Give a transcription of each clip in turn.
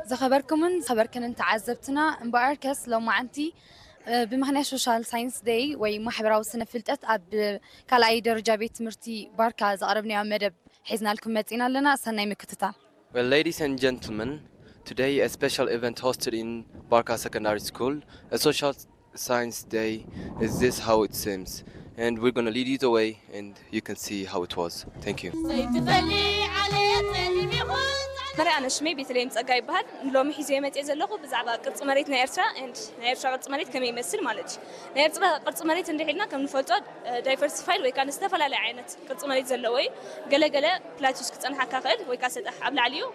ዝኸበርኩምን ዝኸበርክንን ተዓዘብትና፣ እምበኣርከስ ሎማዓንቲ፣ እ፣ ብምኽንያት ሶሻል ሳይንስ ደይ ወይ ማሕበራዊ ስነ ፍልጠት ኣብ ካልኣይ ደረጃ ቤት ትምህርቲ ባርካ ዘቕረብናዮ መደብ ሒዝናልኩም መጺና ኣለና። ሰናይ ምክትታል። Well, ladies and gentlemen, today a special event hosted in Barka Secondary School, a social science day. Is this how it seems? And we're going to lead you the way and you can see how it was. Thank you. መርያ ኣነ ሽመይ ቤተልሔም ጸጋ ይበሃል። ሎሚ ሒዘ መጽእ ዘለኹ ብዛዕባ ቅርጺ መሬት ናይ ኤርትራ፣ and ናይ ኤርትራ ቅርጺ መሬት ከመይ ይመስል ማለት እዩ። ናይ ኤርትራ ቅርጺ መሬት እንድሕልና ከም ንፈልጦ ዳይቨርሲፋይድ ወይ ከዓ ዝተፈላለየ ዓይነት ቅርጺ መሬት ዘለዎ እዩ። ገለገለ ፕላቲዩስ ክጸንሓካ ክእል ወይ ከዓ ሰጣሕ ኣብ ላዕሊ እዩ፣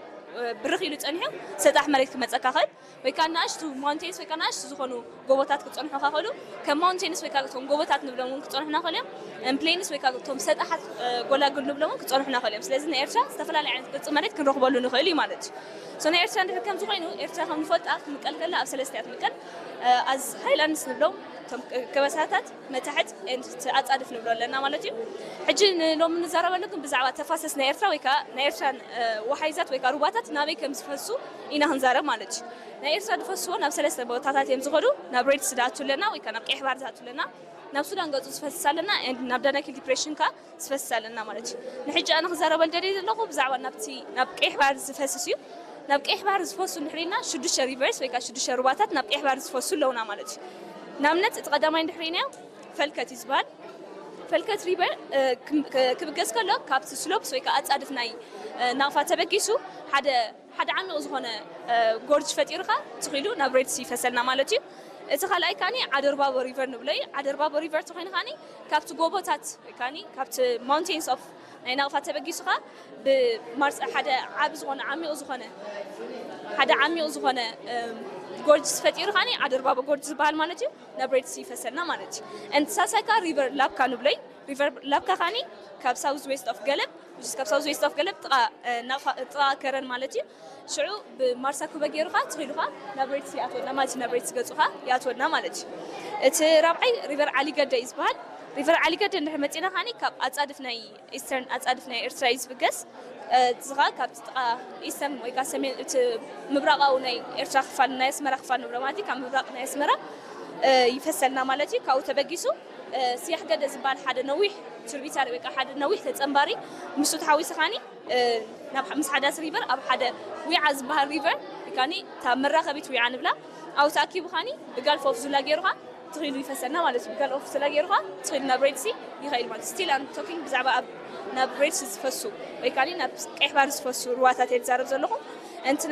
ብርኽ ኢሉ ጸኒሑ ሰጣሕ መሬት ክመጸካ ክእል፣ ወይ ከዓ ንኣሽቱ ማውንቴንስ ወይ ከዓ ንኣሽቱ ዝኾኑ ጎቦታት ክጸንሑኻ ክእሉ። ከም ማውንቴንስ ወይ ከዓ እቶም ጎቦታት ንብሎም እውን ክጸንሑና ክእሉ እዮም። ፕሌንስ ወይ ከዓ እቶም ሰጣሓት ጎላጉል ንብሎም እውን ክጸንሑና ክእሉ እዮም። ስለዚ ናይ ኤርትራ ዝተፈላለዩ ዓይነት ቅርጺ መሬት ክንረኽበሉ ንኽእል እዩ ማለት እዩ። ሶ ናይ ኤርትራ እንድሕር ከምዚ ኮይኑ፣ ኤርትራ ከም ንፈልጣ ክትምቀል ከላ ኣብ ሰለስተ እያ ትምቀል። ኣዝ ሃይላንድስ ንብሎም እቶም ከበሳታት፣ መታሕት፣ ኤንድ ኣጻድፍ ንብሎ ኣለና ማለት እዩ። ሕጂ ንሎሚ ንዛረበሉ ግን ብዛዕባ ተፋሰስ ናይ ኤርትራ ወይ ከዓ ናይ ኤርትራን ወሓይዛት ወይ ከዓ ሩባታት ናበይ ከም ዝፈሱ ኢና ክንዛረብ ማለት እዩ። ናይ ኤርትራ ዝፈስዎ ናብ ሰለስተ ቦታታት እዮም ዝኸዱ። ናብ ሬድሲ ዝኣቱ ኣለና ወይ ከዓ ናብ ቀይሕ ባሕሪ ዝኣቱ ኣለና። ናብ ሱዳን ገጹ ዝፈስስ ኣለና፣ ኤንድ ናብ ዳናኪል ዲፕሬሽን ከዓ ዝፈስስ ኣለና ማለት እዩ። ንሕጂ ኣነ ክዛረበል ደልየ ዘለኹ ብዛዕባ ናብቲ ናብ ቀይሕ ባሕሪ ዝፈስስ እዩ። ናብ ቀይሕ ባሕሪ ዝፈሱ እንድሕር ኢልና ሽዱሽተ ሪቨርስ ወይ ከዓ ሽዱሽተ ሩባታት ናብ ቀይሕ ባሕሪ ዝፈሱ ኣለውና ማለት እዩ። ንኣብነት እቲ ቀዳማይ እንድሕር ኢልናዮ ፈልከት እዩ ዝበሃል። ፈልከት ሪቨር ክብገስ ከሎ ካብቲ ስሎፕስ ወይ ከዓ ኣጻድፍ ናይ ናቕፋ ተበጊሱ ሓደ ሓደ ዓሚቕ ዝኾነ ጎርጅ ፈጢሩ ኸዓ ትኺሉ ናብ ሬድሲ ይፈሰልና ማለት እዩ። እቲ ካልኣይ ከዓኒ ዓደርባቦ ሪቨር ንብሎ እዩ። ዓደርባቦ ሪቨር ተኾይኑ ከዓኒ ካብቲ ጎቦታት ወይ ከዓኒ ካብቲ ማውንቴንስ ኦፍ ናይ ናቕፋ ተበጊሱ ኸዓ ብማርስ ሓደ ዓቢ ዝኾነ ዓሚቕ ዝኾነ ሓደ ዓሚቕ ዝኾነ ጎርጅ ፈጢሩ ከዓኒ ዓደርባቦ ጎርጅ ዝበሃል ማለት እዩ። ናብ ሬድሲ ይፈሰልና ማለት እዩ። And ሳልሳይ ከዓ ሪቨር ላብካ ንብሎ እዩ። ሪቨር ላብካ ከዓኒ ካብ ሳውዝ ዌስት ኦፍ ገለብ፣ which is ካብ ሳውዝ ዌስት ኦፍ ገለብ ጥቓ ጥቓ ከረን ማለት እዩ። ሽዑ ብማርሳ ኩበ ገይሩ ኸዓ ትኺሉ ኸዓ ናብ ሬድሲ ይኣትወና ማለት እዩ። ናብ ሬድሲ ገጹ ኸዓ ይኣትወና ማለት እዩ። እቲ ራብዓይ ሪቨር ዓሊገደ እዩ ዝበሃል። ሪቨር ዓሊገደ እንድሕር መጺና ከዓኒ ካብ ኣጻድፍ ናይ ኢስተርን ኣጻድፍ ናይ ኤርትራ እዩ ዝብገስ። እዚ ኸዓ ካብቲ ጥቓ ኢስተርን ወይ ከዓ ሰሜን እቲ ምብራቓዊ ናይ ኤርትራ ክፋል ናይ ኣስመራ ክፋል ንብሎ ማለት እዩ። ካብ ምብራቕ ናይ ኣስመራ ይፈሰልና ማለት እዩ። ካብኡ ተበጊሱ ስያሕ ገደ ዝበሃል ሓደ ነዊሕ ትርቢታሪ ወይ ከዓ ሓደ ነዊሕ ተጸንባሪ ምስኡ ተሓዊሱ ከዓኒ ናብ ምስ ሓዳስ ሪቨር ኣብ ሓደ ዊዓ ዝበሃል ሪቨር ከዓኒ እታ መራኸቢት ዊዓ ንብላ ኣብኡ ተኣኪቡ ከዓኒ ብጋልፍ ኦፍ ዙላ ገይሩ ኸዓ ትኺሉ ይፈሰልና ማለት እዩ። ብጋልፍ ኦፍ ዙላ ገይሩ ኸዓ ትኺሉ ናብ ሬድሲ ይኸይድ ማለት ስቲል ኣም ቶኪንግ ብዛዕባ ኣብ ናብ ሬድሲ ዝፈሱ ወይ ከዓኒ ናብ ቀይሕ ባሕሪ ዝፈሱ ሩባታት እየ ዝዛረብ ዘለኹ። እንቲ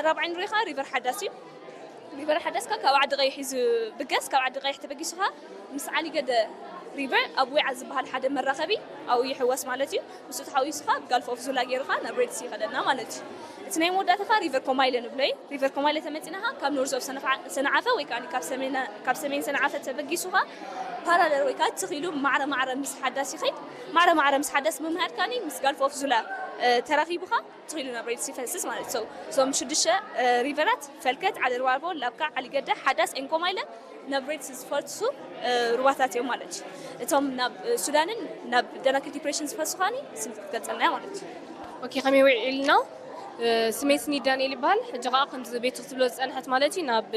ራብዓይ ንሪኦ ኸዓ ሪቨር ሓዳስ እዩ። ሪቨር ሓዳስካ ካብ ዓዲ ቀይሕ እዩ ዝብገስ። ካብ ዓዲ ቀይሕ ተበጊሱኻ ምስ ዓሊገደ ሪቨር ኣብ ዊዓ ዝበሃል ሓደ መራኸቢ ኣብኡ ይሕወስ ማለት እዩ። ምስኡ ተሓዊሱኻ ብጋልፍ ኦፍ ዙላ ገይሩኻ ናብ ሬድሲ ይኸደና ማለት እዩ። እቲ ናይ መወዳእታኻ ሪቨር ኮማይለ ንብሎ እዩ። ሪቨር ኮማይለ ተመፂናኻ ካብ ኖርዝ ኦፍ ሰነዓፈ ወይ ከዓ ካብ ሰሜን ሰነዓፈ ተበጊሱኻ ፓራለል ወይ ከዓ ትኺሉ ማዕረ ማዕረ ምስ ሓዳስ ይኸይድ። ማዕረ ማዕረ ምስ ሓዳስ ብምሃድ ከዓኒ ምስ ጋልፍ ኦፍ ዙላ ተራኺቡኻ ትኽኢሉ ናብ ሬድሲ ይፈስስ ማለት ሰው እዞም ሽዱሽተ ሪቨራት ፈልከት፣ ዓደርባርቦ፣ ላብካ፣ ዓሊገደ፣ ሓዳስ ኤንኮማይለ ናብ ሬድሲ ዝፈሱ ሩባታት እዮም ማለት እዩ። እቶም ናብ ሱዳንን ናብ ደናክል ዲፕሬሽን ዝፈሱ ከዓኒ ስም ክትገልጸልና ማለት እዩ። ኦኬ ከመይ ውዒልና? ስሜ ስኒ ዳንኤል ይበሃል። ሕጂ ከዓ ከምዚ ቤቱ ክትብሎ ዝፀንሐት ማለት እዩ ናብ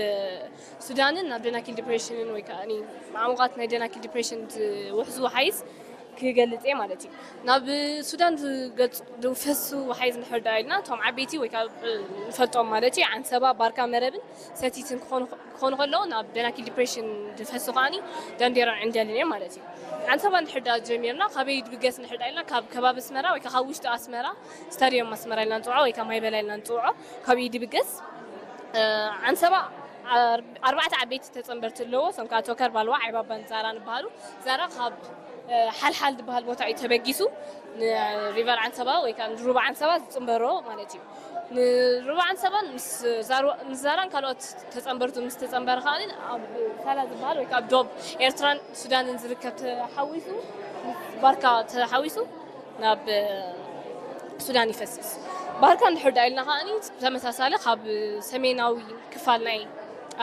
ሱዳንን ናብ ደናኪል ዲፕሬሽንን ወይ ከዓ ማዕሙቃት ናይ ደናኪል ዲፕሬሽን ዝውሕዙ ሓይዝ ክገልጽ እየ ማለት እዩ። ናብ ሱዳን ዝፈሱ ወሓይዝ እንድሕር ደኣ ኢልና እቶም ዓበይቲ ወይ ከዓ ንፈልጦም ማለት እዩ ዓንሰባ፣ ባርካ፣ መረብን ሰቲትን ክኾኑ ከለዉ ናብ ደናኪል ዲፕሬሽን ዝፈሱ ከዓኒ ዳንዴራን ዕንደልን እዮም ማለት እዩ። ዓንሰባ እንድሕር ደኣ ጀሚርና ካበይ ድብገስ እንድሕር ደኣ ኢልና ካብ ከባቢ ኣስመራ ወይ ከዓ ካብ ውሽጢ ኣስመራ ስታድዮም ኣስመራ ኢልና ንፅውዖ ወይ ከዓ ማይበላ ኢልና ንፅውዖ ካብኡ ድብገስ ዓንሰባ ኣርባዕተ ዓበይቲ ተፀንበርቲ ኣለዎ። እሶም ከዓ ቶከር፣ ባልዋ፣ ዓይባባን ዛራን ይበሃሉ። ዛራ ካብ ሓልሓል ዝበሃል ቦታ እዩ ተበጊሱ ንሪቨር ዓንሰባ ወይ ከዓ ንሩባ ዓንሰባ ዝፅንበሮ ማለት እዩ። ንሩባ ዓንሰባን ምስ ዛራን ካልኦት ተፀንበርቱ ምስ ተፀንበረ ከዓ ኣብ ሳላ ዝበሃል ወይ ከዓ ኣብ ዶብ ኤርትራን ሱዳንን ዝርከብ ተሓዊሱ ምስ ባርካ ተሓዊሱ ናብ ሱዳን ይፈስስ። ባርካ እንድሕር ደኣ ኢልና ከዓኒ ተመሳሳሊ ካብ ሰሜናዊ ክፋል ናይ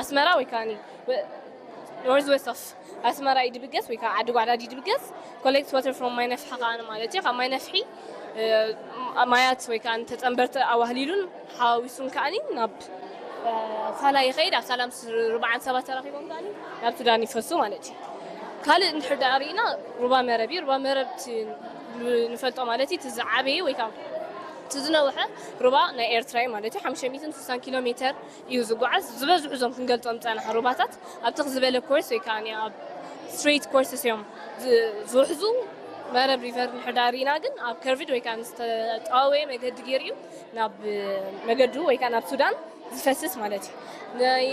ኣስመራ ወይ ከዓኒ ኖርዝ ዌስት ኦፍ ኣስመራ እዩ ድብገስ ወይ ከዓ ዓዲ ጓዕዳድ እዩ ድብገስ ኮሌክት ዋተር ፍሮም ማይ ነፍሒ ከዓኒ ማለት እዩ። ካብ ማይ ነፍሒ ማያት ወይ ከዓ ተፀንበርቲ ኣዋህሊሉን ሓዊሱን ከዓኒ ናብ ፋላ ይኸይድ፣ ኣብ ሳላም ርባዓን ሰባት ተራኺቦም ከኣ ናብ ሱዳን ይፈሱ ማለት እዩ። ካልእ እንድሕር ደኣ ርኢና ሩባ መረብ እዩ። ሩባ መረብ እቲ ንፈልጦ ማለት እዩ፣ እቲ ዝዓበየ ወይ ከዓ እቲ ዝነውሐ ሩባ ናይ ኤርትራ እዩ ማለት እዩ። ሓሙሽተ ሚእትን ስሳን ኪሎ ሜተር እዩ ዝጓዓዝ። ዝበዝሑ እዞም ክንገልጾም ዝጸናሕና ሩባታት ኣብ ትኽ ዝበለ ኮርስ ወይ ከዓ ኣብ ስትሬት ኮርስስ እዮም ዝ- ዝውሕዙ። መረብ ሪቨር እንድሕር ደኣ ርኢና ግን ኣብ ከርቭድ ወይ ከዓ ዝተጠዋወየ መገዲ ገይሩ እዩ ናብ መገዱ ወይ ከዓ ናብ ሱዳን ዝፈስስ ማለት እዩ። ናይ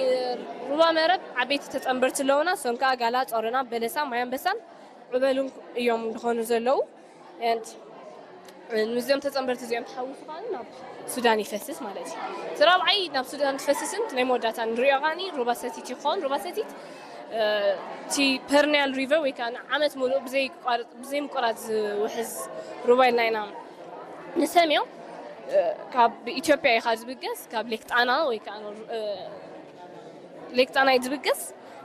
ሩባ መረብ ዓበይቲ ተጸንበርቲ ኣለውና። እሶም ከዓ ጋላ፣ ጾሮና፣ በለሳ፣ ማይ ኣንበሳን ዑበሉን እዮም ዝኾኑ ዘለዉ። And ምስዚኦም ተጸንበርቲ እዚኦም ተሓዊሱ ከዓ ናብ ሱዳን ይፈስስ ማለት እዩ። እቲ ራብዓይ ናብ ሱዳን ትፈስስን ናይ መወዳእታ ንሪኦ ከዓ ሩባ ሰቲት ይኸውን። ሩባ ሰቲት እቲ ፐርኒያል ሪቨር ወይ ከዓ ንዓመት ሙሉእ ብዘይቋርጥ ብዘይምቁራጽ ዝውሕዝ ሩባ ኢልና ኢና ንሰምዮ። ካብ ኢትዮጵያ ኢኻ ዝብገስ፣ ካብ ሌክ ጣና ወይ ከዓ ሌክ ጣና እዩ ዝብገስ።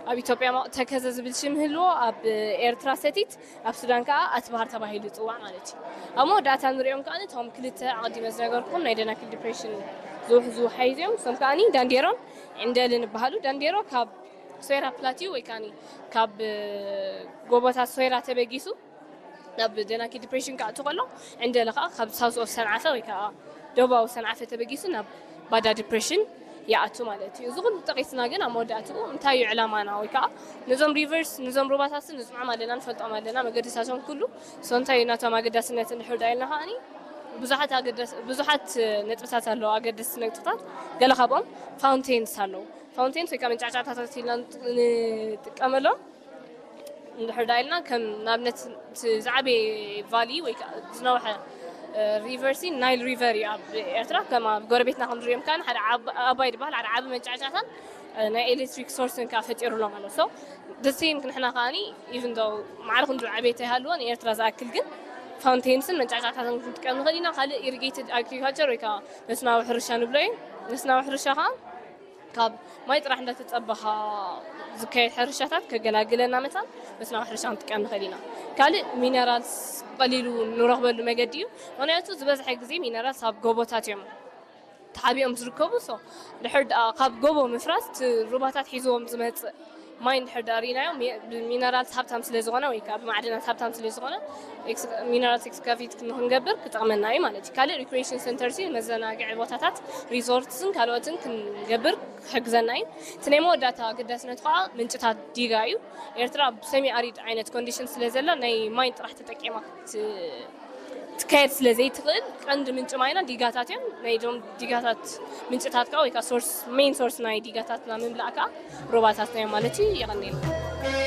ኣብ ኢትዮጵያ ተከዘ ዝብል ሽም ህልዎ፣ ኣብ ኤርትራ ሰቲት፣ ኣብ ሱዳን ከዓ ኣትባሃር ተባሂሉ ይፅዋዕ ማለት እዩ። ኣብ መወዳእታ ንሪኦም ከዓ እቶም ክልተ ኣቐዲመ ዝነገርኩም ናይ ደናክል ዲፕሬሽን ዝውሕዙ ሓይዝ እዮም። እሶም ከዓ ዳንዴሮን ዕንደልን ይበሃሉ። ዳንዴሮ ካብ ሶይራ ፕላቲዩ ወይ ከዓ ካብ ጎቦታት ሶይራ ተበጊሱ ናብ ደናኪ ዲፕሬሽን ክኣቱ ከሎ፣ ዕንደለ ከዓ ካብ ሳውዝ ኦፍ ሰንዓፈ ወይ ከዓ ደቡባዊ ሰንዓፈ ተበጊሱ ናብ ባዳ ዲፕሬሽን ይኣቱ ማለት እዩ። እዚ ኩሉ ጠቂስና ግን ኣብ መወዳእትኡ እንታይ እዩ ዕላማና? ወይ ከዓ ነዞም ሪቨርስ፣ ነዞም ሩባታት ንስምዖም ኣለና፣ ንፈልጦም ኣለና፣ መገድታቶም ኩሉ። ሶ እንታይ እዩ ናቶም ኣገዳስነት እንድሕር ዳ ኢልና ከዓኒ ብዙሓት ኣገደስ ብዙሓት ነጥብታት ኣለዉ፣ ኣገደስቲ ነጥብታት። ገለ ካብኦም ፋውንቴንስ ኣለዉ። ፋውንቴንስ ወይ ከዓ መንጫዕጫዕታታት ኢልና ንጥቀመሎም። እንድሕር ዳ ኢልና ከም ንኣብነት እቲ ዝዓበየ ቫሊ ወይ ከዓ ዝነውሐ ሪቨርሲ ናይል ሪቨር እዩ ኣብ ኤርትራ። ከም ኣብ ጎረቤትና ከም ንሪኦም ከዓኒ ሓደ ዓብ- ኣባይ ዝበሃል ሓደ ዓቢ መንጫዕጫዕታን ናይ ኤሌክትሪክ ሶርስን ከዓ ፈጢሩሎም ኣሎ። ሶ ደሴም ክንሕና ከዓኒ ኢቭን ዶ ማዕረ ክንዱ ዓበየ ተይሃልዎ ንኤርትራ ዝኣክል ግን ፋውንቴንስን መንጫዕጫዕታትን ክንጥቀም ንኽእል ኢና። ካልእ ኢሪጌትድ ኣግሪካልቸር ወይ ከዓ መስናዊ ሕርሻ ንብሎ እዩ። መስናዊ ሕርሻ ከዓ ካብ ማይ ጥራሕ እንዳተጸበኻ ዝካየድ ሕርሻታት ከገላግለና መታን መስናዊ ሕርሻ ክንጥቀም ንኽእል ኢና። ካልእ ሚነራልስ ብቐሊሉ ንረኽበሉ መገዲ እዩ። ምኽንያቱ ዝበዝሐ ግዜ ሚነራልስ ኣብ ጎቦታት እዮም ተሓቢኦም ዝርከቡ። ሶ ድሕር ደኣ ካብ ጎቦ ምፍራስ እቲ ሩባታት ሒዝዎም ዝመጽእ ማይ እንድሕር ደኣ ርኢናዮ ሚ- ብሚነራልስ ሃብታም ስለ ዝኾነ ወይ ከዓ ብማዕድናት ሃብታም ስለ ዝኾነ ኤክስ- ሚነራልስ ኤክስካቬት ንክንገብር ክጠቕመና እዩ ማለት እዩ። ካልእ ሪክሬሽን ሰንተርሲ መዘናግዒ ቦታታት ሪዞርትስን ካልኦትን ክንገብር ክሕግዘና እዩ። እቲ ናይ መወዳእታ ኣገዳስነቱ ከዓ ምንጭታት ዲጋ እዩ። ኤርትራ ብሰሚ ኣሪድ ዓይነት ኮንዲሽን ስለ ዘላ ናይ ማይ ጥራሕ ተጠቂማ ክት- ትካየድ ስለ ዘይትኽእል ቀንዲ ምንጪ ማይና ዲጋታት እዮም። ናይ ዶም ዲጋታት ምንጭታት ከዓ ወይ ከዓ ሶርስ ሜን ሶርስ ናይ ዲጋታትና ምምላእ ከዓ ሩባታትና እዮም ማለት እዩ። የቐንየልና።